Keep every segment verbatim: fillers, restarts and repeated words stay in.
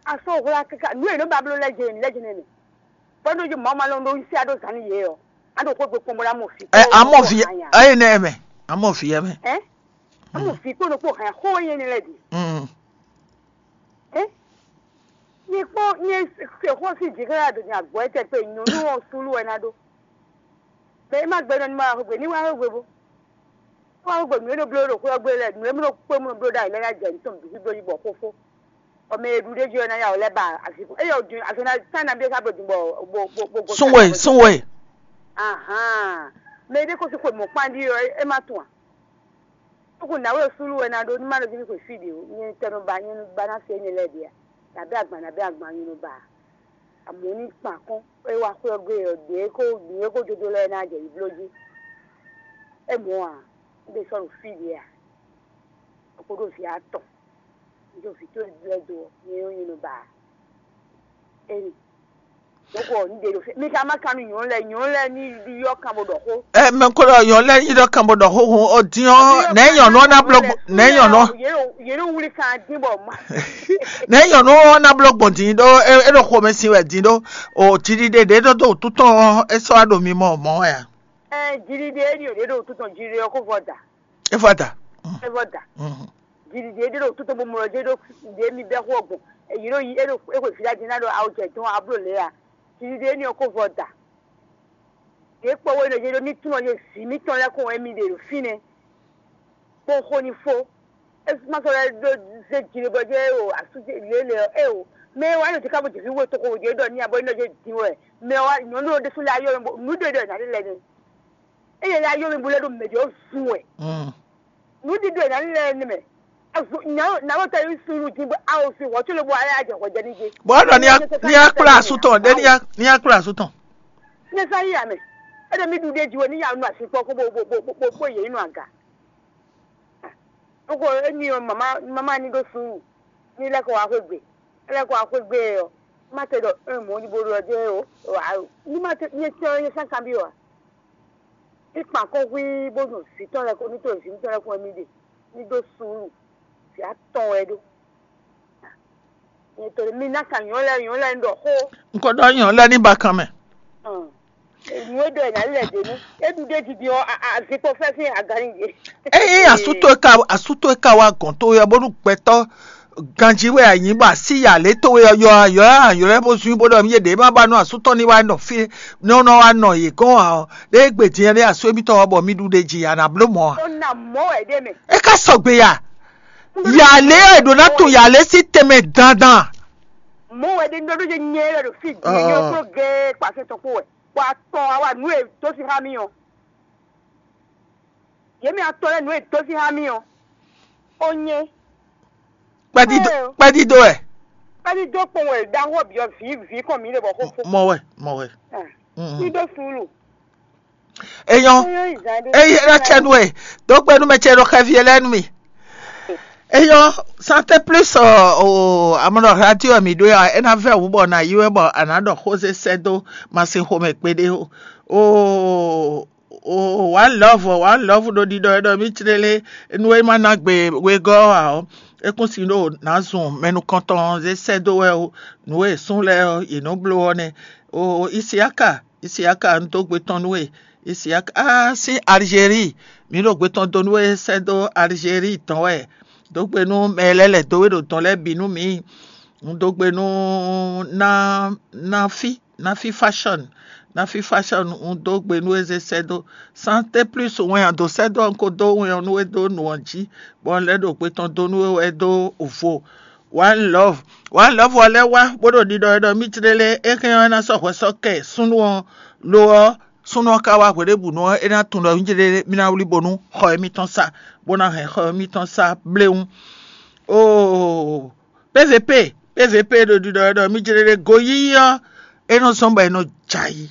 A sɔ́ hwlá káká nǔ e nɔ ba bló lɛ́ jɛ lɛ́ jɛ nɛnɛ. Bɔ nɔ jí mɔ̌ ma lɔ ɖó sí aɖó zǎn nú yě ɔ. A ɖo xwé gbe kpɔ́n bó ná mɔ fi. Ɛ, amɔ vi, ɛ, ene ɛmɛ. Amɔ vi ɛmɛ. Ɛ? Amɔ fi kpó nɔ kpó hɛn xó yé ni lɛ di. Mm. Ɛ? Nyɛ kpɔ́n nyɛ se xó sí jǐxlá ɖo nya gbɔ̌ tɛ pé nyɔ̌nu ɔ súlú wɛ ná ɖó. Mɛ e ma gbɛ nɔ ní ma wá xwé gbe ní wá xwé gbe bó. Wá xwé gbe nǔ e nɔ bló ɖo xwé ɔ́ gbe lɛ́ɛ, nǔ e nɔ kpé mɔ bló ɖ'ayǐ lɛ́ɛ ná jɛ nǔ tɔn bǐ bló yi bɔ xó fó. Bɔ mɛ e ɖu ɖ'é jí ɔ́ ná ya wɛ lɛ́ ba azǐn. Eye ɔ́ din azɔn ná tán ná bí é ká bló din bɔ bɔ bɔ bɔ gɔn. Sunwe, sunwe. Ahan. Mɛ e ɖé ko sí xwe mɔ̌kpán ɖi ɔ́, é má tunwun a? Tókù nǎwe súlú wɛ ná ɖó ní má ɖo jí ní xwe fí ɖě ó, nyɛ tɛ nɔ ba nyɛ nɔ ba ná se énɛ́ lɛ́ɛ ɖě a? Nǎbɛ́ agban nǎbɛ́ agban nyɛ nɔ ba a? Amɔ̌ ní kpan kɔn é wá xwé ɔ́ gbe ɔ́, ɖě kó ɖě kó jodo lɛ́ɛ ná jɛ yi bló jí. É mɔ̌ a? Un ɖe sɔ́ ɖo fí ɖě a? Kó ɖó vǐ atɔn, un ɖó vǐ tó lɛ́ɛ dó ɔ́, nyɛ ɔ́ nyɛ nɔ ba a? Émi. Dɔ̌nkɔ, un ɖe ɖo fí. Mi ka má kan nú nyɔ̌nu lɛ́ɛ, nyɔ̌nu lɛ́ɛ ní ylɔ́ kan bó ɖɔ xó. Ɛ, mɛ ko ɖɔ nyɔ̌nu lɛ́ɛ nyi ɖɔ kan bó ɖɔ xó hun ɔ din ɔ́, nɛ̌ nyɔ̌nu ɔ́ ná bló gbɔn, nɛ̌ nyɔ̌nu ɔ́, yě ɖo yě ɖo wuli kan dín bɔ ma. Nɛ̌ nyɔ̌nu ɔ́ ná bló gbɔn din ɖó é é ɖo xomɛ sin wɛ din ɖó o jiɖiɖe ɖě ɖó dó wǔtu tɔn ɔ́, é sɔ́ wá ɖo mimɔ mɔ̌ wɛ a? Ɛ, jiɖiɖe é ɖi ɖě ɖo wútu tɔn jiɖiɖe ɔ́ kó vɔ da. É vɔ da. É vɔ da. Mhm. Jiɖiɖe é ɖe ɖo wútu tɔn bó mlɔ jɛ ɖó ɖě mi bɛ xó ɔ́ gbɔn. Ɛ, yě ɖo yi é ɖo é xwe vǐ ɖa din ná ɖo awo jɛ dɔn abló lě a? Jiɖiɖe énɛ́ ɔ́ kó vɔ da. Yě kpɔ́ wɛ nɔ yě ɖo ní túnɔ yě vǐ mítɔn lɛ́ɛ kɔn wɛ mi ɖe ɖo fínɛ́. Kpɔ́n xó ní fó. É má sɔ́ lɛ́ ɖó zé jǐ bɔ jẹ́ o asú lě lě ɔ́ é o. Mɛ wa nɔ jǐ ká bó jǐ fí wé toxo wǒ jɛ ɖɔ ní abɔ ní nɔ jɛ dín wɛ. Mɛ wa nyɔ̌nu ɖésú lɛ́ɛ ayɔ mɛ bɔ nǔ ɖe ɖɔ nǎ ɖe lɛ nɛ. Eye lɛ́ɛ ayɔ mɛ bó lɛ́ ɖo mɛ jɔ zun wɛ. Mm. Nǔ ɖiɖo e nǎ lɛ́ɛ nɛmɛ. Nǎwó tɛ yí sunu dín bó awo sin hwɔ̌ có lobɔ ayé ajɛ hwɛ jɛ ní jɛ. Bɔ é ɖɔ ní a ní a kplá asú tɔn ɖé ní a ní a kplá asú tɔn. Ní sá yí amɛ. É ɖɔ mí ɖu ɖé jiwe ní ya nu asi kpɔ́ kó bó bó bó bó bó yě nú aga. Nukɔ émi ɔ mama mama ní ɖó sunu ní lɛ́ kɔ wá xwé gbe. É lɛ́ kɔ wá xwé gbe ɔ má tɛ ɖɔ é mɔ̌ ní bó ɖɔ jẹ́ o. Ní má tɛ ní tɛ ní sá kanbyɔ́ ǎ. Ní kpan kɔn hwí bó ɖo vǐ tɔn lɛ́ɛ kɔn ní to vǐ tɔn lɛ́ɛ kɔn wɛ mì ɖe ní ɖó suúlu. Vǐ atɔn wɛ é ɖó. Nyɛ to mi ná kan nyɔ̌ lɛ́ɛ nyɔ̌ lɛ́ɛ un ɖɔ xó. Un ko ɖɔ nyɔ̌ lɛ́ɛ ní bakan mɛ. Nǔ e ɖɔ ɛ ná lɛ ɖě nú é ɖu ɖé jiji ɔ́, azikpo fɛ́fɛ́ agán nyi yě. Ényí asútó e ka asútó e ka wá gɔ̌n towe ɔ́ bónú gbɛtɔ́ ganjí wɛ a nyǐ bɔ así ya lě towe ɔ́ yɔ ayɔ ayɔ lɛ́ɛ bó zún bó ɖɔ mì yé ɖě má ba nú asú tɔn ní wá nɔ fí ní nɔ wá nɔ yě gɔ́n ǎ ɔ́, ɖé gbe din ɔ́ ɖé asú émítɔn ɔ́ bɔ mì ɖu ɖe ji a nǎ bló mɔ̌ ǎ. Ó ná mɔ̌ wɛ ɖé mɛ. É ká sɔgbe ya. Ya lě ɔ́ è ɖǒ ná tun ya lě sín tɛnmɛ dandan. Mɔ̌ wɛ ɖé ní ɖɔ ɖó jɛ nyɛ wɛ ɖo fí din nyɛ kpló gɛ́ kpasɛ tɔn kpó wɛ. Bɔ atɔn awa nǔ e dó sí xá mì ɔ́. Yě mɛ atɔn lɛ́ɛ nǔ e dó sí xá mì ɔ́. Ó nyɛ. Kpɛdídó Ɛ o. Kpɛdídó wɛ. Kpɛdídó kpɔn wɛ ɖaxó byɔ́ vǐ vǐ kɔn mǐ ɖe bɔ xó fó. Mɔ wɛ, mɔ wɛ. Ní ɖó suúlu. Eyɔn. Eyɔn ìzá ɖé. Eye ɖɔ tsɛ nu e. Dó kpɛ nú mɛ tsɛ ɖo xɛvi lɛ́ɛ nú mi. Eyɔn, santé plus ɔ o amɔnɔ radio mi ɖó ya, é ná vɛ wú bɔ na yi wɛ bɔ a nǎ ɖɔ xózé sɛ́ dó masin xomɛ kpéɖé o. O o one love one love ɖo ɖiɖɔ e ɖɔ mì clélé nú é má ná gbe wegɔ́ ɔ́ ǎ ɔ́, é kún sin ɖo nǎ zun mɛ nukɔntɔn zé sɛ́ dó wɛ ó. Nǔ e sún lɛ́ɛ ɔ́ yě nɔ bló ɔ́ nɛ́. O Isiaka, Isiaka un dó gbe tɔn nú we. Isiaka á sín Algérie, mǐ ɖo gbe tɔn dó nú we sɛ́ dó Algérie tɔn wɛ. Dó gbe nú mɛ lɛ́ɛ lɛ̌ dó we ɖo dɔn lɛ́ɛ bǐ nú mǐ. Un dó gbe nú ná ná fí Nafi Fashion, Nafi Fashion un dó gbe nú we zé sɛ́ dó. Santé plus wɛn a dǒ sɛ́ dó ɔ́, un ko dó wɛn ɔ́ nú we dó nǔ ɔ́ jí, bɔ un lɛ́ ɖo gbe tɔn dó nú we wɛ dó vo. One love, one love ɔ́ lɛ́ wá bó ɖo ɖiɖɔ wɛ ɖɔ mì clélé é hɛn ɔ́ é ná sɔ́ hwɛ sɔ́ kɛ súnnu ɔ́. Lo ɔ́, súnnu ɔ́ ka wá hweɖěbǔnu ɔ́, é ná tunwun ɖɔ mì clélé mì ná wlí bónú xɔ émítɔn sa, bó ná hɛn xɔ émítɔn sa bléwún. Oo, P V P, P V P ɖo ɖiɖɔ wɛ ɖɔ mì clélé goyíyí ɔ́, é nɔ zɔ́n bɔ è nɔ jɛ ayǐ.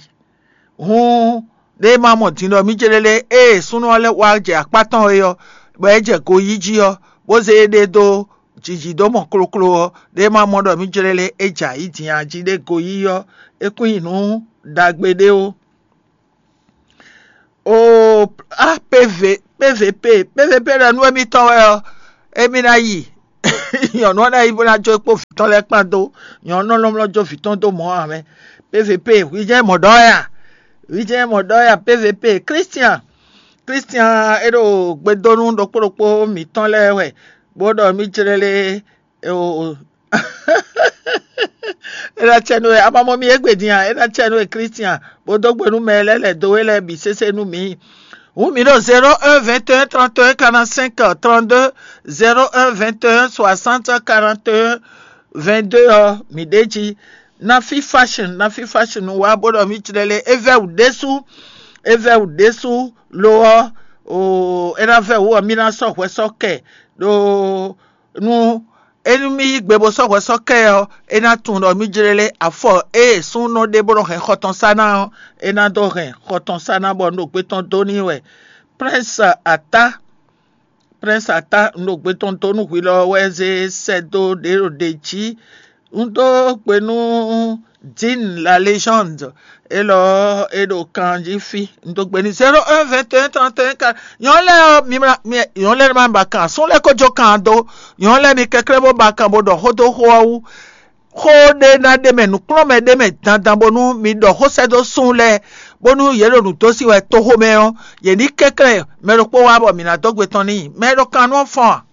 Hǔn ɖé ma mɔ din ɖɔ mì céɖéɖé ée súnnu ɔ́ lɛ́ wá jɛ akpá tɔn é ɔ́, bɔ é jɛ goyíjí ɔ́, bó zé éɖée dó jǐjí dó mɔ kloklo ɔ́, ɖé ma mɔ ɖɔ mì céɖéɖé é jɛ ayǐ din a jí ɖé goyí ɔ́, é kún nyí nǔ ɖagbe ɖé ó. Oo, á P V P V P P V P ɖɔ nú émítɔn wɛ ɔ́, émí ná yi. Nyɔ̌nu ɔ́ ná yi bó ná jó é kpó vǐ tɔn lɛ́ɛ kpán dó. Nyɔ̌nu ɔ́ lɔmlɔ́ jó vǐ tɔn dó mɔ̌ ǎ mɛ. P V P, hwi jɛ́n mɔ ɖɔ ya. Hwi jɛ́n mɔ ɖɔ ya, P V P. Christian, Christian, é ɖo gbedónú ɖokpó ɖokpó mǐtɔn lɛ́ɛ wɛ, bó ɖɔ mì jlé lé. O, é ná cɛ nú we. Amamɔ mi égbé din a? É ná cɛ nú we, Christian, bó dó gbe nú mɛ lɛ́ɛ lɛ̌ dó we lɛ́ɛ bǐ sésé nú mǐ. Hǔn mǐ ɖo zéro un vingt et un trente et un quarante-cinq trente-deux, zéro un vingt et un soixante quarante et un vingt-deux ɔ́, mǐ ɖ'é jí. Nafi Fashion, Nafi Fashion wá bó ɖɔ mì jlɛ́ lé, é vɛ́ wǔ ɖésú, é vɛ́ wǔ ɖésú. Lo ɔ́, o, é ná vɛ́ wǔ ɔ́, mì ná sɔ́ hwɛ sɔ́ kɛ ɖó nú é nú mì yí gbe bó sɔ́ hwɛ sɔ́ kɛ ɔ́, é ná tunwun ɖɔ mì jlé lé. Afɔ ée súnnu ɖé bó nɔ hɛn xɔ tɔn sá ná ɔ́, é ná dó hɛn xɔ tɔn sá ná bɔ un ɖo gbé tɔn dó n'i wɛ. Prince Ata, Prince Ata, un ɖo gbé tɔn dó nú hwi lɔ wɛ zé sɛ́ dó ɖě ɖo ɖě jí. Un dó gbe nú Dean la légende, élɔ́ é ɖo kan jí fí. Un dó gbe n'i zéro un vingt et un trente et un quarante. Nyɔ̌nu lɛ́ɛ ɔ́, mi ma mi nyɔ̌nu lɛ́ɛ ma ba kan, súnnu lɛ́ɛ ko jó kan dó. Nyɔ̌nu lɛ́ɛ mi kɛnklɛ́n bó ba kan bó ɖɔ xó dó xó ɔ́ wú. Xó ɖé ná ɖ'é mɛ, nǔkplɔ́nmɛ ɖ'é mɛ dandan bónú mi ɖɔ xó sɛ́ dó súnnu lɛ́ɛ, bónú yě ɖo nǔ dó sí wɛ toxo mɛ ɔ́, yě ní kɛnklɛ́n mɛ ɖokpó wá bɔ mǐ ná dó gbe tɔn n'i. Mɛ e ɖo kan nú ɔ́ fɔ́n a?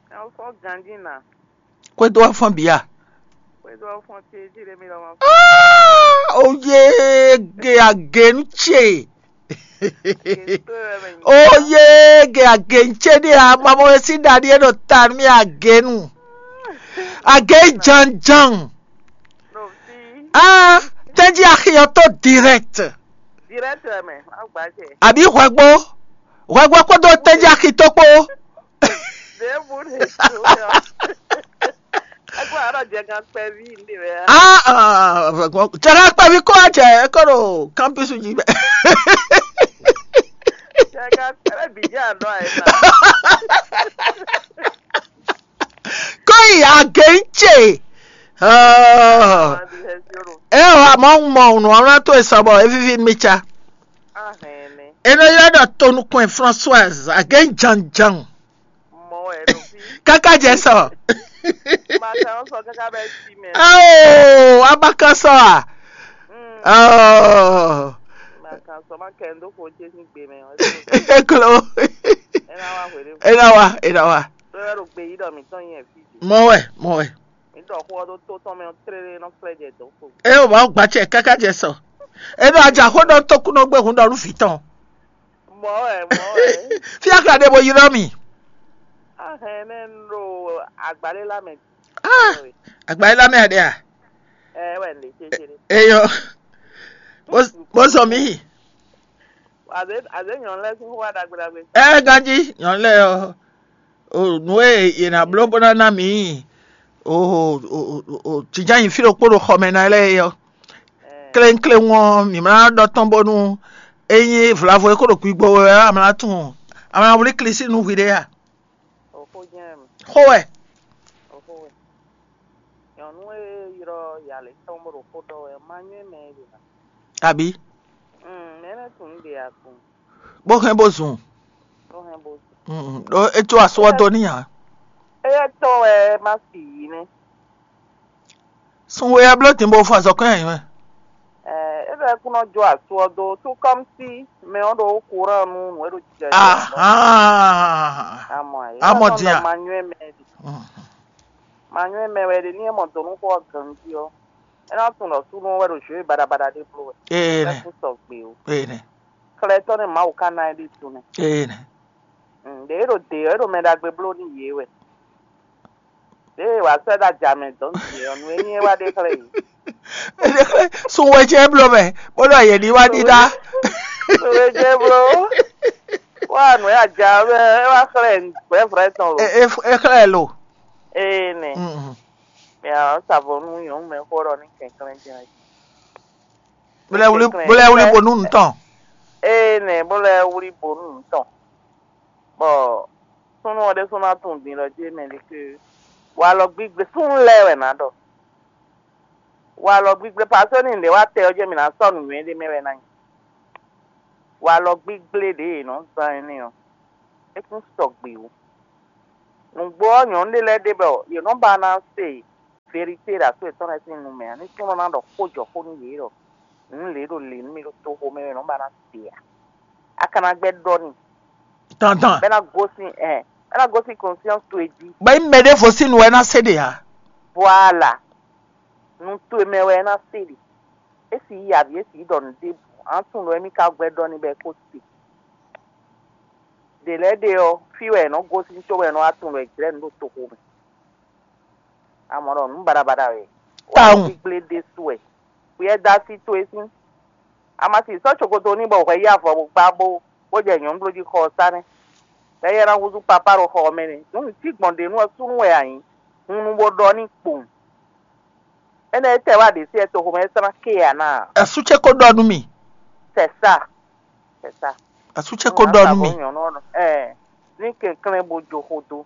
Ɛ, wọ́n fɔ́n ganjí ná. Kwédó wá fɔ́n bǐ a? Kwédó wá fɔ́n ce jí lé mi lɔ ma. Ó yé ge agenu ce. Ó yé ge agenu ce ɖé a? Mamɔ e sí ɖaɖi é ɖo ta nú mì agenu. Agenu janjan. No fi. Ah, tɛ́njí axi ɔ́ tó direct. Direct mɛ, má gbà jɛ. Àbí hwɛgbó? Hwɛgbó kpódó tɛ́njí axi tó kpó. Ɖěbǔ ɖě dó yɔ. Ẹgbẹ́ àárọ̀ jẹ gan kpẹ́ví ní rẹ̀. Ah, ah, jẹ̀rẹ̀ kpẹ́ví kó àjẹ́ ẹ kọ́ ɖo campus jí bẹ́ẹ̀. Jẹ gan kpẹ́ví bìjà àná ẹ̀ náà. Kó ìyá gé ń tsè. Ẹ wà mọ́ ń mọ ònù ọ̀rọ̀ tó ìsọ̀bọ̀ evíví mi tsa. Ahɛn nɛ. Eno yɔ ɖɔ tonukun Françoise agé ń jan jan. Mɔ wɛ ɖo fi. Káká jɛ sɔ. Ma kan sɔ kaka bɛ si mɛ. Ao, abaka sɔ a? Mm. Oh. Ma kan sɔ ma kɛ ndo ko je ni gbe mɛ. Eklo. Ena wa hwele. Ena wa, ena wa. Lɔ yɔ ɖo gbe yi ɖɔ mi tɔn yɛ fi. Mɔ wɛ, mɔ wɛ. Mi ɖɔ xó ɔ́ ɖó tó tɔn mɛ ɔ́ tlélé nɔ flɛ́ jɛ dɔ̌n xo. É o ba gba cɛ káká jɛ sɔ. É ɖo ajaxó ɖɔ tókúnɔgbé hun ɖɔ nú vǐ tɔn. Mɔ̌ wɛ, mɔ̌ wɛ. Fí akla ɖe bo ylɔ́ mì. Ahɛn nɛ un ɖo agbalé lá mɛ. Ah, agbalé lá mɛ aɖe a? Ɛ wɛ un ɖe cécé ɖe. Eyɔ. Bó bó zɔ mì. Azé azé nyɔ̌nu lɛ́ɛ sín xó wá ɖagbe ɖagbe. Ɛ ganjí nyɔ̌nu lɛ́ɛ ɔ́, o nǔ e yě ná bló bó ná ná mǐ o o o o jǐjá nyi fí ɖokpó ɖo xɔ mɛ ná lɛ́ɛ é ɔ́, kléŋkléŋ ɔ́, mǐ ma ná ɖɔ tɔn bónú é nyí vlavo e kó ɖo gbigbo wɛ ɔ́, a ma ná tunwun, a ma ná wlí Klísu nú hwiɖée a? Òxó jɛ́n mɛ. Xó wɛ. Òxó wɛ. Nyɔ̌nu e ylɔ́ yǎ lě tɔn bó ɖo xó ɖɔ wɛ, ma nywɛ́ mɛ é ɖe ná. Abǐ? Mm, mɛ énɛ́ tunwun ɖe a kpɔn. Bó hɛn bó zun. Bó hɛn bó zun. Mm, ɖó é có asú ɔ́ dó n'i ǎ. Éyɛ́ tɔn wɛ má fi yǐ nɛ́. Sun we ɔ́ bló din bó fɔ azɔ̌kɔ́n nyi wɛ. Ɛ, é ɖɔ é kún nɔ jó asú ɔ́ dó, tout comme si mɛ ɔ́ ɖo kúran nú nǔ e ɖo jijɛ. Ahán. Amɔ ɛ. Amɔ din a? Ma nywɛ́ mɛ ɖi. Mm. Ma nywɛ́ mɛ wɛ ɖe ní é mɔ dɔ̌n nú xó ɔ́ ganjí ɔ́, é ná tunwun ɖɔ súnnu ɔ́ wɛ ɖo jǒwe baɖabaɖa ɖé bló wɛ. Ee nɛ. Kún sɔgbe o. Ee nɛ. Xlɛtɔ́ nɛ́ Mawu ka ná ɛ ɖíe tunwun. Ee nɛ. Mm, ɖě é ɖo dě ɔ́, é ɖo mɛ ɖagbe bló nú yě wɛ. Ɖěe wǎ sɛ́ ɖo ajǎ mɛ dɔn nú yě ɔ́, nǔ e nyí é wá ɖe xlɛ́ yě. Sun wɛ jɛ bló mɛ, bó ɖɔ yě ní wá ɖíɖá. Sun wɛ jɛ bló. Wá nǔ e ajǎ ɔ́ mɛ, é wá xlɛ́ nǔgbɛ́ vrɛ́ tɔn lo. É xlɛ́ lo. Ee nɛ. Mm. Mɛ ɔ́ sa vo nú nyɔ̌nu mɛ xó ɖɔ ní kɛnklɛ́n jɛ́n. Bó lɛ́ wlí bó lɛ́ wlí bo nú nǔ tɔn. Ee nɛ, bó lɛ́ wlí bo nú nǔ tɔn. Bɔ súnnu ɔ́ ɖésú ná tunwun din ɖɔ jí mɛ ɖé ke walɔ gbígbé súnnu lɛ́ɛ wɛ nǎ ɖɔ. Walɔ gbígbé pasóni ɖě wá tɛ ɔ́ jɛ mǐ ná sɔ́ nǔnywɛ́ ɖé mɛ wɛ ná nyí. Walɔ gbígbé ɖě è nɔ zán énɛ́ ɔ́, é kún sɔgbe ó. Nǔgbó ɔ́, nyɔ̌nu ɖé lɛ́ɛ ɖe bɔ yě nɔ ba ná se verité ɖo asú yětɔn lɛ́ɛ sín nu mɛ ǎ. Ní súnnu ná ɖɔ xó jɔ xó nú yě ɖɔ nǔ lě ɖo lě nú mì ɖo toxo mɛ wɛ nɔ ba ná se ǎ. A ka ná gbɛ́ ɖɔ n'i. Dandan. Bɛ ná gosín ɛ bɛ ná gosín conscience towe jí. Bɔ nyí mɛ ɖěvo sín nu wɛ ná se ɖe ǎ. Voilà. Nu towe mɛ wɛ ná se ɖe. É sì yí avǐ, é sì yí ɖɔ nǔ ɖěbǔ. Á tunwun ɖɔ émí ka gbɛ́ ɖɔ n'i bɔ é kó se. Ɖě lɛ́ɛ ɖe ɔ́, fí wɛ è nɔ gosín cóbɔ è nɔ wá tunwun ɖɔ è jlɛ́ nǔ ɖo toxo mɛ. Amɔ̌ ɖɔ nǔ baɖabaɖa wɛ. Tawun. Gbígblé ɖésú wɛ. Xwíyɛ́ dó así towe sín. A ma si sɔ́ cokoto n'i bɔ hwɛ yí avɔ bó gbá bó bó jɛ nyɔ̌nu bló jí xɔ ɔ́ sá nɛ́. Bɔ éyɛ́ ná húzú papá ɖo xɔ ɔ́ mɛ nɛ́. Nǔ nǔ cí gbɔn ɖě nu ɔ́ súnnu wɛ a nyǐ. Hun nu bó ɖɔ n'i kpowun. Énɛ́ é tɛ wá ɖě sí ɛ toxo mɛ é sɔ́ ná ké ǎ ná. Asú ce ko ɖɔ nú mì. C'est ça. C'est ça. Asú ce ko ɖɔ nú mì. Nyɔ̌nu ɔ́ ɛ ní kɛnklɛ́n bó jó xó dó.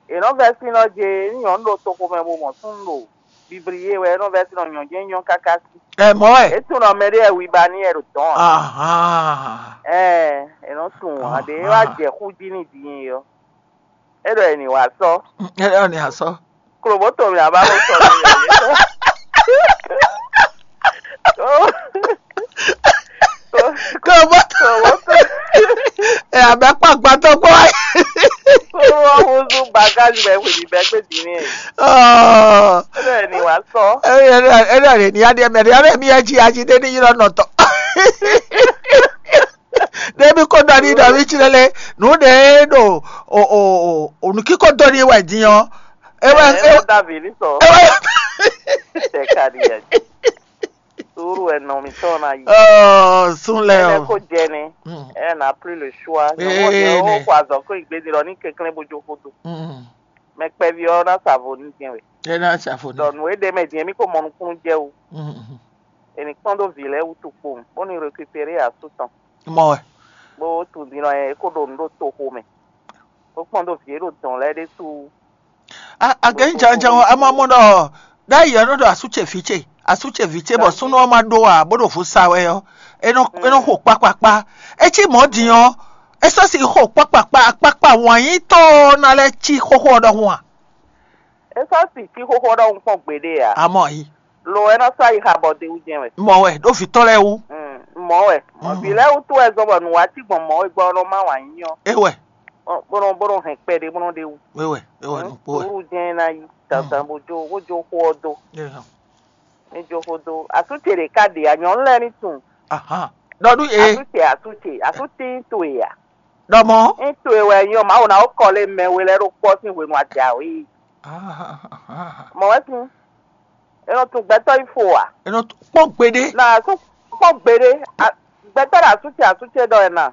È nɔ vɛ́ sín nɔ jɛ nyɔ̌nu ɖo toxo mɛ bó mɔ súnnu ɖo bibliye wɛ é nɔ vɛ́ sín nɔ nyɔ̌ jɛ́n nyɔ́ káká sí. Ɛ mɔ wɛ. É tunɔ mɛ ɖé wɛ wiba ní ɛ ɖo dɔ̌n ǎ. Ahan. Ɛ è nɔ tunwun ǎ ɖě é wá jɛ xú jí n'i din ɔ́. É ɖɔ è nǐ wá sɔ́. Ɛ ɔ ni asɔ. Klobóto mì aba ko sɔ mì yě sɔ. Klobóto. Klobóto. Ɛ abɛ kpa gbàtɔ kpɔ. Kó wọ́n húzú bagage bɛ hwèbí bɛ gbé dǐní ẹ̀. Ɔ É ɖɔ è nǐ wá sɔ́. Ɛ ɛ ɛ ɛ ni aɖe mɛ ɖe ɛ mi ɛ dzi adzi ɖe ni yi lɔ nɔtɔ. Ɖebi ko ɖɔ ni ɖɔ mi tsi lɛ lɛ nu ɖe ɖo o o o o nu kiko dɔ ni wɛ din ɔ. Ewe Ɛ ewe ɛ da vǐ ní sɔ. Ewe. Tɛ ka ɖi yɛ. Sùúrù ɛ nɔ mi tɔn na yi. Ɔ sun lɛ Ɛ o. Ko jɛ ni. Mm. Ɛ n'a plus le choix. Ee, Nyɔmɔ de ne. O ko azɔ ko igbe di lɔ ni kɛnklɛn bo jo ko do. Mm. Mɛ kpɛvi ɔ na sa vo ni jɛn wɛ. Ɛ na sa vo ni. Dɔ nu e ɖe mɛ din mi ko mɔ nukunu jɛ o. Mm. Eni kpɔn do vi lɛ wutu kpo. Bó ni récupérer asu tɔn. Mɔ wɛ. Bó tun din lɔ yɛ e ko ɖo nu ɖo toxo mɛ. Bó kpɔn do vi e ɖo dɔn lɛ ɖésú. Agɛnyi janjan ɔ́, a ma mɔ ɖɔ ɖ'ayǐ ɔ́ nɔ ɖɔ asú ce vǐ ce, asú ce vǐ ce, bɔ súnnu ɔ́ ma ɖó ǎ, bó ɖo vo sa wɛ ɔ́, é nɔ é nɔ xo kpákpákpá. É cí mɔ̌ din ɔ́, é sɔ́ si xo kpákpákpá, akpákpá wǎnyítɔ́ ɔ́ ná lɛ́ cí xóxó ɔ́ ɖɔhun a? É sɔ́ si cí xóxó ɔ́ ɖɔhun kpɔ́n gbeɖé ǎ. Amɔ yi. Lo ɛ nɔ sɔ́ ayixa bɔ de wú jɛ́n wɛ. Mɔ wɛ ɖó vǐ tɔn lɛ́ɛ wú. Mm, mɔ wɛ. Mɔ vǐ lɛ́ɛ wú tó wɛ zɔn bɔ nǔ wá cí gbɔn mɔ wɛ gbɔ ɔ́ nɔ má wǎ nyí ɔ́. É wɛ. Bó nɔ bó nɔ hɛn kpɛɖé bó nɔ ɖe wú. É wɛ. É wɛ nukpó wɛ. Sùúrù jɛ́n ná yí dandan bó jó bó jó xó ɔ́ dó. É hàn. Ní jó xó dó. Asú ce ɖě ká ɖe ǎ, nyɔ̌nu lɛ́ɛ ní tunwun. Ahan. Ɖɔ nú yě. Asú ce asú ce asú tín towe ǎ. Ɖɔ mɔ̌. Ní towe wɛ nyí ɔ́, Mawu ná wó kɔ lé mɛ we lɛ́ɛ ɖó kpɔ́ sín hwenu a jǎwe. Ahan. Mɔ wɛ sín. É nɔ tunwun gbɛtɔ́ yi fo ǎ. É nɔ kpɔ́n gbeɖé. Na asú kpɔ́n gbeɖé. Gbɛtɔ́ ɖo asú ce asú ce ɖɔ ɛ na.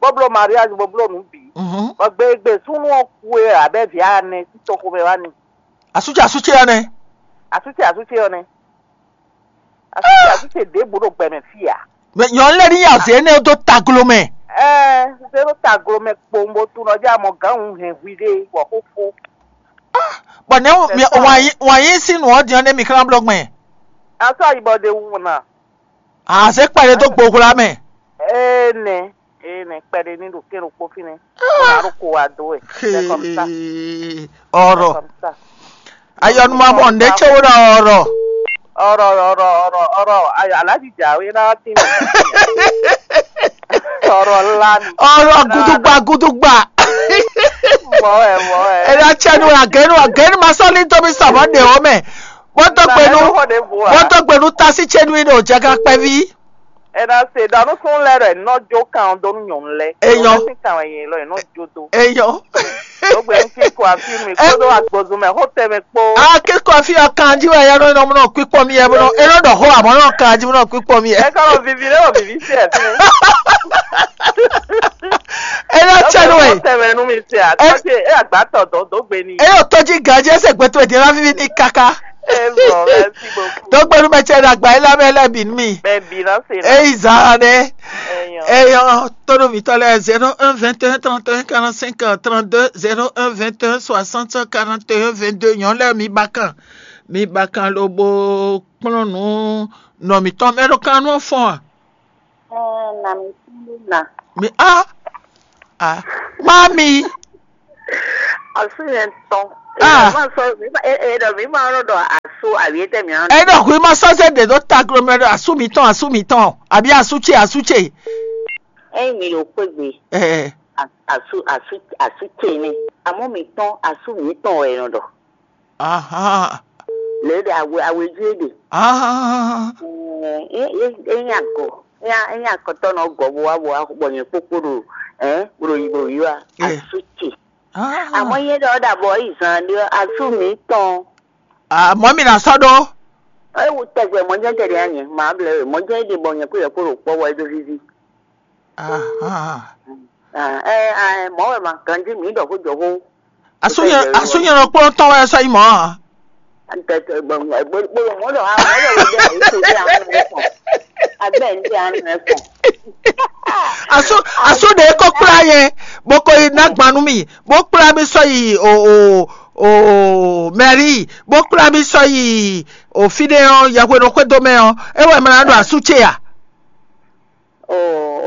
Bó bló mariage bó bló nǔ bǐ. Mhm. Bɔ gbe e gbe súnnu ɔ́ kú é abɛ vǐ anɛ sín toxo mɛ wá ni. Asúce asúce ɔ́ nɛ́. Asúce asúce ɔ́ nɛ́. Asúce asúce ɖěbǔ ɖo gbɛ mɛ fí ǎ. Mɛ nyɔ̌nu lɛ́ɛ ní yà zě énɛ́ dó taglo mɛ. Ɛɛ zé ɖo taglo mɛ kpowun bó tunɔ jɛ amɔ gǎn hun hɛn hwi ɖé wɔ xóxó. Bɔ nɛ̌ wǎn yí sín nǔ ɔ́ din ɔ́ nɛ́ mi xlán bló gbɛn? Asú ayibɔ ɖe wu na. Azě kpɛɖé dó gbohwla mɛ. Ee nɛ, ee nɛ kpɛɖé ní ɖo kɛ́n ɖokpó fínɛ́. Bó ná ɖo ko wá dó wɛ. C'est comme ça. Ọ̀rọ̀. C'est comme ça. Ayɔnumamɔ ndé tse wo ɖɔ ọ̀rọ̀. Ọ̀rọ̀ ọ̀rọ̀ ọ̀rọ̀ ọ̀rọ̀ ayọ̀ aláàjì jàwé náà ti ní. Ọ̀rọ̀ ńlá ni. Ọ̀rọ̀ gudugba gudugba. Mọ̀ ẹ́ mọ̀ ẹ́. Ẹ̀dá tsẹ́nu agẹ́nu agẹ́nu ma sọ́lí tóbi sọ̀mọ́ dè ọ́ mẹ́. Wọ́n tó gbẹnu wọ́n tó gbẹnu tasí tsẹ́nu yìí ní òjá ká pẹ́ ví. Ena se ɖɔ nú súnnu lɛ́ɛ ɖɔ è nɔ jó kan ɔ́ dó nú nyɔ̌nu lɛ́ɛ. Eyɔ. Nyɔ̌nu lɛ́ɛ sín kan wɛ nyɛ lɔ è nɔ jó dó. Eyɔ. Dó gbe nú kíkɔ afí mi kpódó agbozun mɛ xó tɛnmɛ kpó. A kíkɔ afí ɔ kan jí wɛ yɛ nɔ nɔ kpíkpɔ mi yɛ bó nɔ é nɔ ɖɔ xó àmọ́ nɔ kan jí bó nɔ kpíkpɔ mi yɛ. Ɛ kɔ nɔ vivi lé wɔ vivi sí ɛ fún mi. É nɔ tsɛ nú wɛ. Xó tɛnmɛ nú mi sí a tɔtí é àgbátɔ dó dó gbe ni. É yóò tɔjí gǎnjí ẹsẹ̀ gbẹtọ̀ èdè ńlá fífi ní káká. Ẹ bọ̀, merci beaucoup. Dó gbẹnu mɛ tsɛ ɖo àgbà yìí lábẹ́ lẹ́bìí mi. Bẹ́ẹ̀ bí náà ṣe náà. Èyí zan ne. Ẹ̀yàn. Èyàn tó ɖo mǐtɔn lɛ zéro un vingt et un trente et un quarante-cinq trente-deux, zéro un vingt et un soixante quarante et un vingt-deux, nyɔ̌nu lɛ́ɛ mi ba kan. Mi ba kan lobo kplɔ́n nǔ nɔ mǐtɔn mɛ ɖo kan nú ɔ́ fɔ́n a? Ɛɛ, na mi kún ɖó na. Mi a a mami. Asú nyɛ tɔn. Ah. Ema sɔ mi ma e e ɖɔ mi ma nɔ ɖɔ asú awi etɛ mi nɔ. Ɛ ɖɔ hu ma sɔ se de ɖo ta glo mɛ ɖɔ asú mi tɔn, asú mi tɔn, abi asú ce, asú ce. Eyi mi ɖo kpegbe. Ɛ. Asú asú asú ce ne. Amɔ mi tɔn asú mi tɔn wɛ nɔ ɖɔ. Aha. Le ɖe awe awe jí ɖe. Ah. Ɛ ɛ ɛ nya gɔ. Nya nya kɔtɔ nɔ gɔ bo wa bo wa bɔ nyɛ kpokpo ɖo. Ɛ bro yi bro yi wa. Ɛ. Asú ce. Ah. Àmọ́ yẹn ɖɔ ɖàbọ̀ ìzàn ɖé asú mi tɔn. Ah, mɔ mi na sɔ ɖo. Ewu tɛgbɛ mɔjɛ tɛ ɖe anyɛ ma blɛ we mɔjɛ ɖe bɔ nyɛ kó yɛ kó ɖo kpɔ wɔ edo vivi. Ah, ah. Ah, ɛ ɛ mɔ wɛ ma ganji mi ɖɔ kó jɔ kó. Asu nyɛ asu nyɛ nɔ kplɔn tɔn wɛ sɔ yi mɔ. Ntɛtɛ gbɔn gbɔn mɔ ɖɔ ha mɔ ɖɔ wo ɖe ayi ko ɖe anu ɛ kɔn. Agbɛ n ɖe anu ɛ kɔn. Asu asu ɖe ko kpla yɛ boko yi na gbanu mi bo kpla mi sɔ yi o o o mɛri bo kpla mi sɔ yi o fi ɖe ɔ yɛhwe nɔ xwedó mɛ ɔ e wɛ mɛ na ɖo asu ce ya. O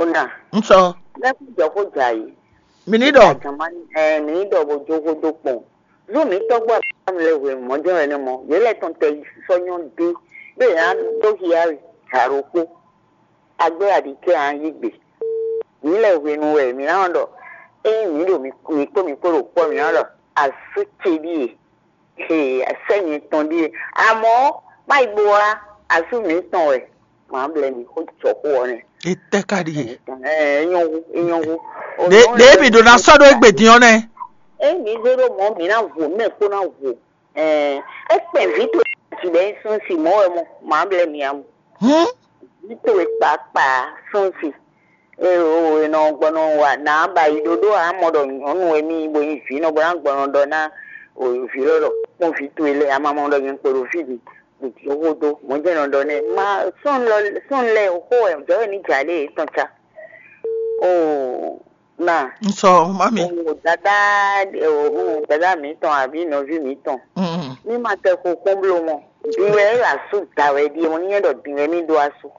o na. Nsɔ. Lɛkun jɔ ko dza yi. Mi ni ɖɔ. Ɛ mi ni ɖɔ bo jo ko do kpɔn. Zu mi tɔgbo abam le hwe mɔjɔ ene mɔ yɛ lɛ tɔn tɛ sɔ nyɔ de be ya do hia jaro kpo. Agbe aɖikɛ an yi gbe. Mi lɛ hwenu wɛ mi na ɖɔ eye mi ɖo mi kpo mi kpo ɖo kpɔ mi na ɖɔ asu ce ɖie. He sɛ mi tɔn ɖie. Amɔ ma yi bo wa asu mi tɔn wɛ. Ma blɛ mi xo jɔ xo ɔ nɛ. Etɛ ka ɖi e? Ɛ enyɔ wu enyɔ wu. Ɖe ɖe mi ɖo na sɔ ɖo egbe din ɔ nɛ. Eyi mi zé ɖo mɔ mi na vo mɛ kpó na vo. Ɛ ekpɛn vi to ti bɛ sún si mɔ wɛ mɔ ma blɛ mi amu. Hmm. Vi to e kpakpa sún si. E o e nɔ gbɔnɔ wa na ba yi ɖoɖo a mɔ ɖɔ nyɔnu wɛ mi bo yi vi nɔ bɔ na gbɔnɔ ɖɔ na o vi lɔ ɖɔ kpɔn vi to e lɛ a ma mɔ ɖɔ nyɛ kpo ɖo fi di. Ɖo xó dó mɔ̌ jɛ́n nɔ ɖɔ nɛ́. Ma sɔ́n lɔ sɔ́n lɛ́ɛ xó wɛ jɔ̌ wɛ ní jà lé yě tɔn cá. Oo na. Nsɔ mami. Oo dada oo dada mǐtɔn àbí nɔví mǐtɔn. Mm. Ní ma tɛ xo kpɔ́n bló mɔ. Din wɛ é asú da wɛ ɖíe mɔ ní nyɛ ɖɔ din wɛ mí ɖó asú.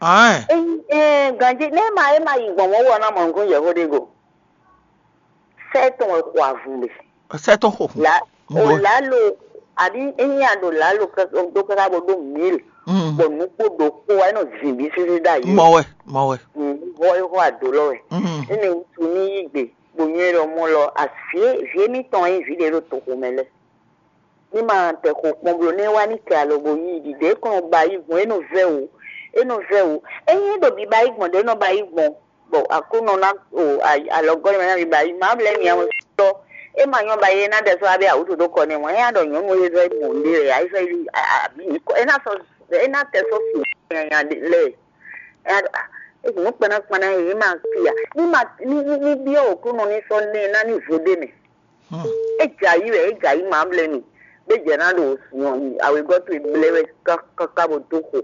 Aɛn. Ényí ɛ ganjí nɛ́ ma é ma yi gbɔn mɔ̌ wɔ ná mɔ nukún yɛ̌xó ɖé go. Sɛ́ tɔn wɛ xo avun ɖe. Sɛ́ tɔn xo. La o lalo àbí ényí a ɖo lalo ɖó káká bó ɖó mil bɔ nukpó ɖokpó wa é nɔ zin bí sésé ɖ'ayǐ. Mɔ wɛ, mɔ wɛ. Vɔ é xɔ ado lɔ wɛ. Énɛ́ wútu ní yí gbe bó nyɔ́ é ɖɔ mɔ lɔ avǐ vǐ émítɔn e nyí vǐ ɖé ɖo toxo mɛ lɛ́ɛ. Ní ma tɛ xo kpɔn bló nɛ́ wá ní kɛ alɔ bó yí ɖiɖe é kɔn ba yí gbɔn é nɔ vɛ́ wǔ. É nɔ vɛ́ wǔ. Ényí é ɖo biba yí gbɔn ɖě é nɔ ba yí gbɔn bɔ Aklúnɔ ná o alɔgɔ́ mɛ ná biba yí má blɛ́ nya sɔ́. É ma nyɔ́ ba yí é ná ɖɛ sɔ́ abẹ́ awǔtu dó kɔ nɛ́ mɔ̌ é ná ɖɔ nyɔ̌nu e vɛ́ mɔ ɖé lɛ ayífẹ́ yí abǐ é ná sɔ́ é ná tɛ sɔ́ su nyanya lɛ. É ná ɖɔ é nǔ kpɛ́ná kpɛ́ná é má fi a ní ma ní ní byɔ́ Aklúnɔ ní sɔ́ nɛ́ ná ní vo ɖé mɛ. É jɛ ayǐ wɛ é jɛ ayǐ ma blɛ́ mi. Bó jɛ ná ɖo awěgɔ́ towe blɛ́ wɛ káká bó dó xo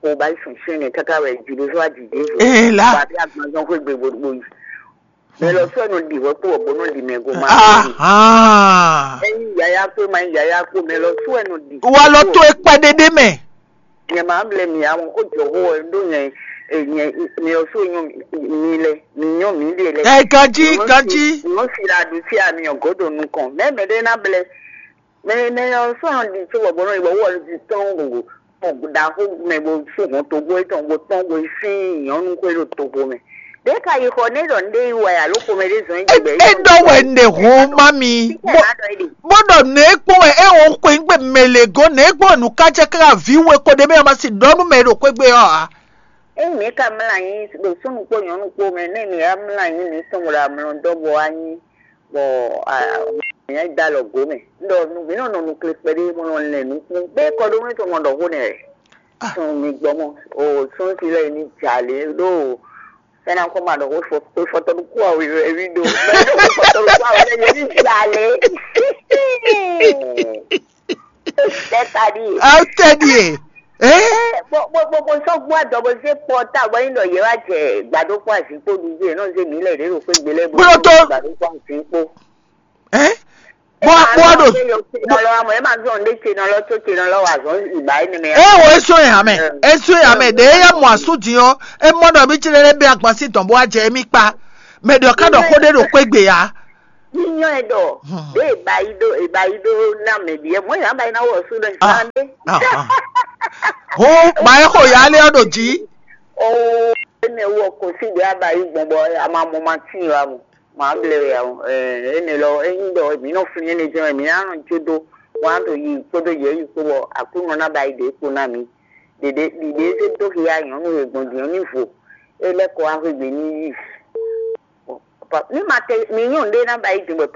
xo ba yi sɔn sɛ́n nɛ káká wɛ jǐɖózó ajǐjǐ zo. Ee la. Ba bí agbanzɔn xwé gbe bó bó yi. Mɛ lɔ sɔ́ nɔ ɖi hwɛ kpó bó nɔ ɖi mɛ go ma. Ahan. Ɛyin yaya kpé ma yaya kpó mɛ lɔ sɔ́ nɔ ɖi. Wa lɔ tó e kpɛɖé ɖé mɛ. Nyɛ ma blɛ mi awon ko jɔ ho ɛ ɖó nyɛ nyɛ mi ɔ so nyɔ mi lɛ mi nyɔ mi ɖe lɛ. Ɛ ganji ganji. Nyɔ si la ɖu si ami ɔ godo nukɔn mɛ mɛ ɖe na blɛ mɛ mɛ ɔ so hàn di so bɔbɔ nɔ ibɔ wɔ di tɔn gogo ɖaxo mɛ bo so hɔn togo etɔn bo tɔn bo sin nyɔnu ko ɖo togo mɛ ɖe ka yi xɔ ne ɖɔ ne yi wɛ alo xɔmɛ ɖe zɔn yi gbɛ. E dɔ wɛ ne ho ma mi. Bó ɖɔ nɛ e kpɔn wɛ e ho xwe ŋgbe mɛ le go nɛ e kpɔn wɛ nukacɛ kára vǐ we ko ɖe mɛ ɔ́ ma si ɖɔ nú mɛ e ɖo xwé gbe ɔ́ ǎ. Ényí mǐ ka mlá anyi ɖo súnnu kpó nyɔ̌nu kpó mɛ nɛ́ mǐ wá mlá anyi mǐ tɔn bɔ ɖo amlɔ dɔ́ bɔ wá nyi bɔ mǐ wá da alɔ gǒ mɛ. Un ɖɔ mǐ nɔ nɔ nukle kpɛɖé bó nɔ lɛn nukún bé kɔ ɖó mɛ tɔn nɔ ɖɔ xó nɛ wɛ. Sun mi gbɔ mɔ o sun si lɛ ni dza lě ɖó. Fɛnɛ kɔ ma ɖɔ xó fɔ xó fɔtɔ ɖokpó awe wɛ wi ɖo. Xó fɔtɔ ɖokpó awe lɛ yɛ ni dza lě. Tɛ ta ɖi. Aw tɛ ɖi e. Ee. Bó bó bó bó sɔ́ gbó adɔ bó zé kpɔ ta bó nyí ɖɔ yě wá jɛ gbàdó kpó azǐn kpó ɖu yé nɔ zé mǐ lɛ ɖě ɖo xwé gbé lɛ bó Kplɔ́ tó. Gbàdó kpó azǐn kpó. Ɛ. Bó bó ɖo. Nɔ lɔ amɔ ema zɔn ɖe tse nɔ lɔ tó tse nɔ lɔ wa zɔn ìgbà yìí nìmɛ. Ɛ wo eso yà mɛ eso yà mɛ ɖe eya mɔ asu din ɔ emɔ ɖɔ mi tse lɛ bɛ agba si dɔn bó wa jɛ emi kpa mɛ ɖɔ ká ɖɔ xó ɖe ɖo xwé gbé ya. Yíyɔ́n ɛ ɖɔ ɖě è ba yi ɖó è ba yi ɖó ná mɛ ɖíe mɔ̌ yě ná ba yi ná wɔ sú ɖɔ zán ɖé. Hó ba é xo yá lé ɔ́ ɖo jǐ. Oo, énɛ́ wɔ kɔsí ɖě a ba yi gbɔn bɔ a ma mɔ ma tín wá mɔ. Mǎ blɛ wɛ ǎ. Énɛ́ lɔ é nyí ɖɔ mǐ nɔ flín énɛ́ jɛ́n wɛ mǐ ná nɔ jó dó wǎn ɖo yi kpódó yě yi kpó bɔ Aklúnɔ ná ba yi ɖě kpo ná mǐ. Ɖěɖě ɖiɖě é zé dó xia nyɔ̌nu e gbɔn din ɔ́ ní vo. É lɛ́ kɔ wá xwé gbe ní yí. Ní ma tɛ mi nyɔ́ ɖé ná ba yi din bɔ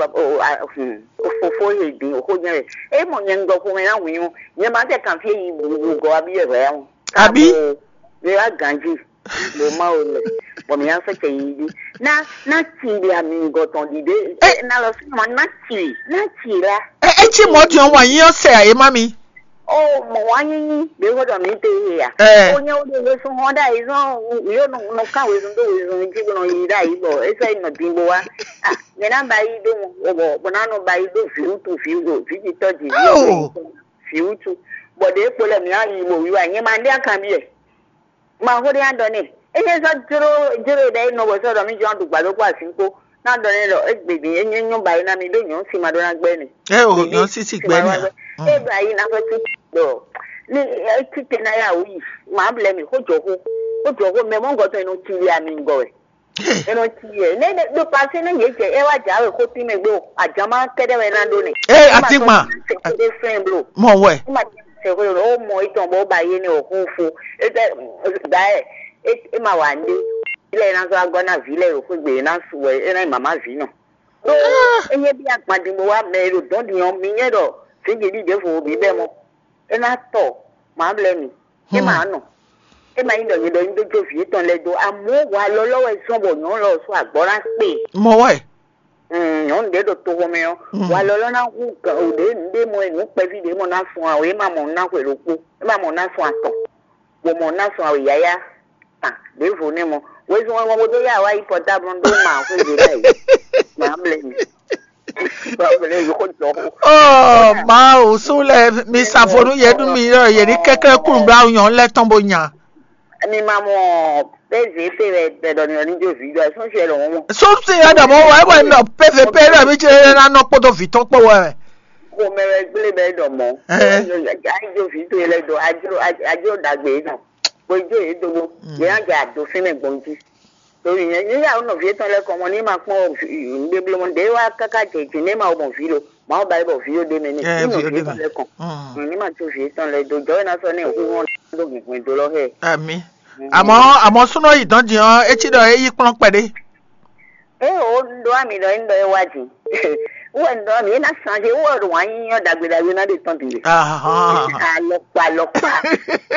fofo e din xó nyɛ wɛ. É mɔ nyɛ ŋgɔ xomɛ ná wǐn ɔ́, nyɛ ma tɛ kan fí e yi gɔ́ wá bí wɛ hwɛ ɔ́. Abí? Mi wá ganjí mo ma wo lɛ bɔ mi ná sɔ́ cɛ yi dí. Ná ná ci ɖi ami ŋgɔ tɔn ɖiɖe. Ná lɔ sí ma ná ci ná ci la. É cí mɔ̌ din ɔ́ wǎn nyí ɔ́ sɛ ǎ é má mi. O mɔ wá nyínyí ɖě xó ɖɔ mǐ te yé a? Ó nyɛ ó ɖe wezun hɔn ɖ'ayǐ zɔn yóò nɔ kán wezun dó wezun jí bó nɔ yi ɖ'ayǐ bɔ é sɔ́ yi nɔ din bó wá. Nyɛ ná ba yi ɖó mɔ bɔ bɔ ná nɔ ba yi ɖó vǐwútu vǐwútu vǐjitɔ́ ji vǐwútu bɔ ɖě kpo lɛ mǐ á yi bo wiwa nyɛ ma ɖe akanbyɛ. Ma xó ɖé ná ɖɔ n'i. É nyɛ sɔ́ jló jló ɖɛ é nɔ bɔ sɔ́ ɖɔ mí jɔ́n ɖu gbǎdó kpó azǐn kpó. Ná ɖɔ n'i ɖɔ égbé din é nyɛ nyɔ́ ba yi ná mi ɖó nyɔ̌ si ma ɖó ná gbɛ́ n'i. É o nyɔ̌ sísí gbɛ́ n'i a? É ba yi ná fẹ́ títí ɖɔ ní é títí ná yà wú yi. Mǎ blɛ́ mì xó jɔ xó xó jɔ xó mɛ mɔ́ gɔ́ tɔn é nɔ cí wí ami ŋgɔ wɛ. É nɔ cí yɛ nɛ ɖo pasé nɛ yě jɛ é wá jǎwe xó tín mɛ gbé o. Ajǎmá kɛ́ɖɛ́ wɛ ná ɖó nɛ. Ee atígban. Sɛkpéɖé fɛn blo. Mɔ wɛ. Sɛkpéɖé o mɔ itɔn bɔ ó ba yé nɛ o xó fo. Étɛ da ɛ é ma wà ní. Ilé ná sɔ́ agɔ́ ná vǐ lɛ o xwé gbe ná su wɛ é ná nyí màmá vǐ nɔ. Ɖó é nyɛ bí agban din bó wá mɛ e ɖo dɔ̌n din ɔ́ mi nyɛ ɖɔ fíjì ɖi ɖěvo bǐ bɛ́ mɔ. É ná tɔ mǎ blɛ́ mi. É ma nɔ. É ma nyí ɖɔ nyɛ ɖɔ nyí dó jó vǐ étɔn lɛ́ɛ dó amɔ̌ walɔ lɔ́ wɛ zɔ́n bɔ nyɔ̌nu lɔ sɔ́ agbɔ́ ná kpe. Mɔ wɛ. Nyɔ̌nu ɖě ɖo toxo mɛ ɔ́, walɔ lɔ́ ná hu ɖě nǔɖé mɔ e nǔ kpɛví ɖě mɔ ná sun awe é ma mɔ ná xwe ɖokpó é ma mɔ ná sun atɔn. Bɔ mɔ ná sun awe yáyá. Ɖěvo nɛ́ mɔ wezun wɛ mɔ bó dó yá wá yi pɔtáblu ɖó ma xwé ɖě lɛ́ɛ. Ma blɛ́ mi. Oh, Mawu, sú lɛ mi sa vo nú yě nú mi ɖɔ yě ní kɛ́klɛ́ kúnnublá nyɔ̌nu lɛ́ɛ tɔn bó nya. Mi ma mɔ pézé pé wɛ bɛ ɖɔ mi ɔ ní jó vǐ jɔ sún si ɛ lɔ mɔ. Sún si ɛ ɖɔ mɔ wɛ wɛ nɔ pévé pé ɖɔ mi jɛ ná nɔ kpódó vǐ tɔn kpó wɛ. Xomɛ wɛ gblé bɛ ɖɔ mɔ. Ayi jó vǐ tó yɛ lɛ dɔ ajo ajo dagbe nɔ. Bó jó yě dó bó yě ná jɛ àdó fínmɛ gbɔn jí. Torí yẹn ní yàrá nɔ vǐ tɔn lɛ kɔn mɔ ní ma kpɔn nɖé bló mɔ ɖé wá káká jẹ jì ní ma mɔ vǐ lo màá ba yí bɔ vǐ yó ɖé mɛ ní ní nɔ vǐ tɔn lɛ kɔn ní ma tó vǐ tɔn lɛ do jɔ é ná sɔ ní ìhú hɔn dó hìnhìn dó lɔ hɛ. Ami. Àmọ́ àmọ́ súnú yìí dán jìn ọ́ é cí ɖɔ é yí kplɔ́n kpɛɖé. É o ɖó àmì ɖɔ é ń ɖɔ é wá jìn. Wɔ ń ɖɔ àmì é ná sàn jẹ wɔ ɖo wá yín yọ dàgbé dàgbé ná ɖe tán bìí. Alɔkpa alɔkpa.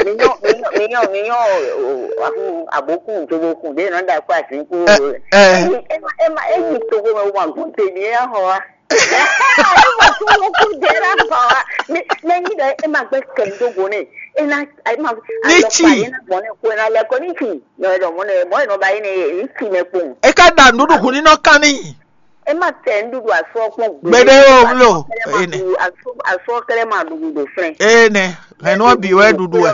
Miyɔn miyɔn miyɔn miyɔn abokun jogokun de nɔ da kó azin kú. Ema ema eyi togo mɛ wọn gún tèmi ɛ hɔ wa. Ema tó ló kú de la hɔ wa. Mɛ nyi dɔ ema gbɛ kɛ dogo ne. Ena ema alɔkpa ye na gbɔn ne ko ena lɛ kɔ ni fi. Nɔ ɛdɔ mɔ ne mɔ ɛnɔ ba yi ne ye ni fi mɛ kpɔn. E ka da nuɖuɖu hun ni nɔ kan ni. Ema tɛ nuɖuɖu asɔ kpɔn gbe. Gbede o blo. Ene. Asɔ kɛlɛ ma ɖuɖu do flɛ. Ene. Hɛn nɔ bi wɛ ɖuɖu ɛ.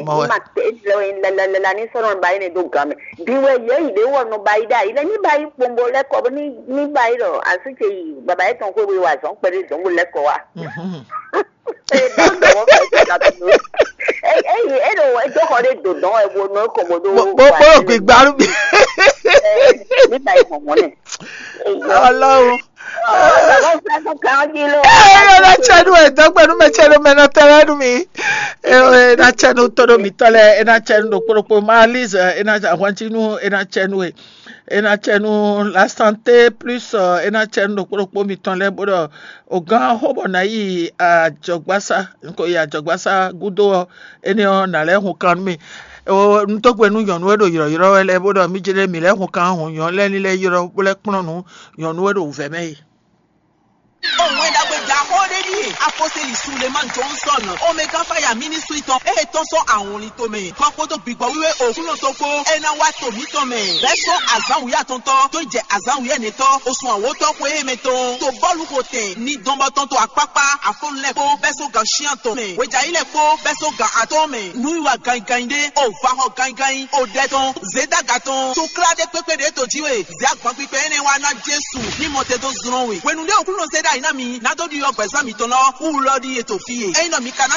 Mɔ wɛ. Ema tɛ lɛ lɛ lɛ ni sɔnɔ ba yi ne do gan mɛ. Bi wɛ yɛ yi de wɔ nɔ ba yi da yi lɛ ni ba yi kpɔnbɔ lɛ kɔ ni ni ba yi lɔ asu ce yi baba yɛ tɔn ko wa zɔn kpɛɖe dɔn bo lɛ kɔ wa. Eyi eɖo edó xɔ ɖe do dɔn ebo nɔ kɔ bo do. Bó bó gbigbalu bi. Nígbà yìí mọ̀ mọ́ nẹ̀. Ọlọ́run. Ena tsɛnu e dɔgbɛnu mɛ tsɛnu mɛ nɔ tɛ lɛ nu mi. Ena tsɛnu tɔɖo mi tɔ lɛ ena tsɛnu ɖokpo ɖokpo ma Liz ena ahwantsinu ena tsɛnu e ena tsɛnu la santé plus ena tsɛnu ɖokpo ɖokpo mitɔn lɛ bó ɖɔ o gán xó bɔ na yi ajɔgbasa n ko yi ajɔgbasa gúdo ɔ ene ɔ na lɛ hun kan nú mi. Ntɔgbe nú nyɔnu e ɖo yrɔyrɔ wɛ lɛ bó ɖɔ mi jɛ ɖe mi lɛ hun kan hun nyɔnu lɛ ni lɛ yrɔ bó lɛ kplɔn nú nyɔnu e ɖo wǔvɛ mɛ yi. Òun ẹ̀ dàgbé jà kó dé ní. Aposteli Suleman Johnson, Omega Fire Ministry tɔn, e tɔn sɔn awɔnlin tomɛ, kɔ kpódó gbigbɔ wíwé Oklunɔ tɔn kpó, e ná wá to mǐtɔn mɛ. Bɛ́ sɔn azǎn wǔyá tɔntɔn, tó jɛ azǎn wǔyá nɛtɔn, osun awǒtɔn xwe e mɛ tɔn, to bɔ́lu xo tɛn, ní dɔn bɔ tɔn to akpákpá, afɔnu lɛ́ɛ kpó, bɛ́ sɔn gan shian tɔn mɛ, wejǎyi lɛ́ɛ kpó, bɛ́ sɔn gan atɔn mɛ, nǔwiwa ganyiganyi ɖé, o va xɔ ganyiganyi, o ɖɛ tɔn, zědaga tɔn, to klá ɖé kpékpé ɖě to jí we, zě agban kpikpɛ énɛ́ wá ná Jesu, ní mɔ te dó zlɔ́n we. Hwenu ɖé Oklunɔ zé ɖ'ayǐ ná mi, ná dó ɖiɖɔ gbɛ̌zán mitɔn lɔ, wú lɔ ɖíe to fí e. Ényí nɔ mi ka ná